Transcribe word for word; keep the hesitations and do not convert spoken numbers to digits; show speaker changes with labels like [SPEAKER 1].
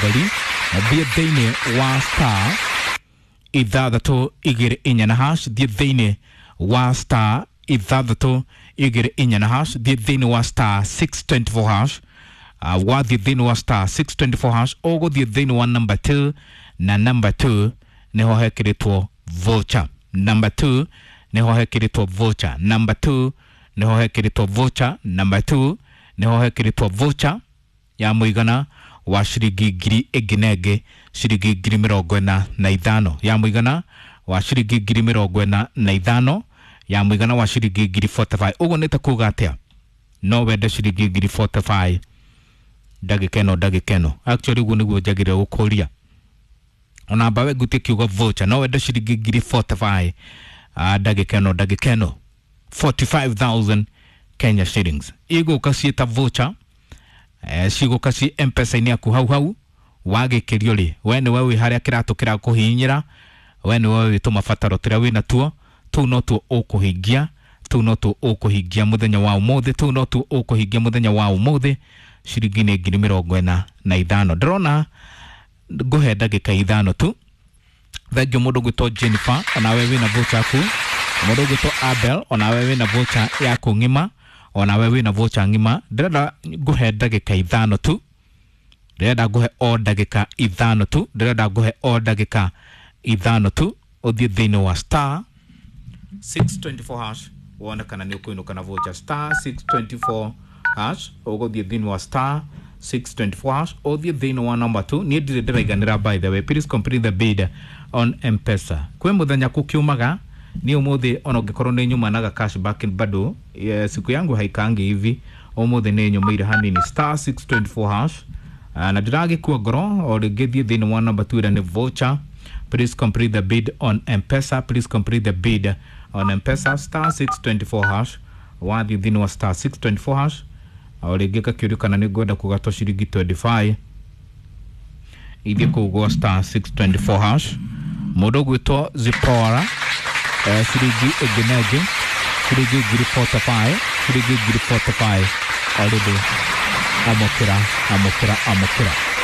[SPEAKER 1] Theri thiĩ thĩinĩ wa star ithathatũ igĩrĩ inya na hash, thiĩ thĩinĩ wa star ithathatũ igĩrĩ inya na hash, thiĩ thĩinĩ wa star six twenty four hash. Uh, wathiĩ thĩinĩ wa star six twenty four hash, ũgũthiĩ thĩinĩ wa number two, na number two nĩho hekĩrĩtwo voucher. Number two nĩho hekĩrĩtwo voucher. Number two nĩho hekĩrĩtwo voucher. Number two nĩho hekĩrĩtwo voucher ya mũigana wa ciringi ngiri ĩngĩ na ĩngĩ ciringi ngiri mĩrongo ĩna na ithano, ya mũigana wa ciringi ngiri mĩrongo ĩna na ithano, ya mũigana wa ciringi ngiri forty five. Ũguo nĩ ta kuga atĩa? No wende ciringi ngiri forty five ndagĩka ĩno, ndagĩka ĩno actually ũguo nĩguo njagĩrĩire gũkũria ona mbawe ngutie kiugo voucher. No wende ciringi ngiri forty five ndagĩka ĩno, ndagĩka ĩno forty five thousand Kenya shillings igũka ciĩta voucher, eh, cigũka ci M-Pesa-inĩ yaku hau hau wagĩkĩrio rĩ, we nĩwe wĩ harĩa kĩratũ kĩrakũhihinyĩra, we nĩwe wĩ tũmabataro tũrĩa wĩna tuo, tũu no tuo ũkũhingia, tũu no tuo ũkũhingia mũthenya wa ũmũthĩ, tũu no tuo ũkũhingia mũthenya wa ũmũthĩ. Ciringi nĩ ngiri mĩrongo ĩna na ithano. Ndĩrona ngũhe ndagĩka ithano tu. Thengiũ mũndũ ũgwĩtwo Jennifer, onawe wĩna voucher yaku. Mũndũ ũgwĩtwo Abel, onawe wĩna voucher yaku ng'ima, onawe wĩna voucher ng'ima. Ndĩrenda ngũhe ndagĩka ithano tu, ndĩrenda ngũhe o ndagĩka ithano tu, ndĩrenda ngũhe o ndagĩka ithano tu, ũthiĩ thĩinĩ wa star six twenty four hash wone kana nĩ ũkũinũka na voucher. Star six twenty four hash, ũgũthiĩ thĩinĩ wa star six twenty four hash, ũthiĩ thĩinĩ wa number two. Niĩ ndirĩ ndĩraiganĩra, by the way, please complete the bid on M-Pesa. Kwĩ mũthenya kũkiumaga, niĩ ũmũthĩ ona ũngĩkorwo nĩ nyumanaga cashback bado, eh, siku yangu haikangi hivi, ũmũthĩ nĩ nyũmĩire hanini. Star six twenty four hash, uh, na ndĩragĩkua ngoro o rĩngĩ, thiĩ thĩinĩ wa number two ĩrĩa nĩ voucher. Please complete the bid on M-Pesa, please complete the bid on M-Pesa, star six twenty four hash. Wathiĩ thĩinĩ wa star six twenty four hash, o rĩngĩ gakĩũrio kana nĩ ngwenda kũgatwo ciringi twenty five, ithiĩ kũu gwa star six twenty four hash. Mũndũ ũgwĩtwo Zipora, eh, ciringi ĩngĩ na ĩngĩ ciringi ngiri forty five, ciringi ngiri forty five already. Amũkĩra, amũkĩra, amũkĩra.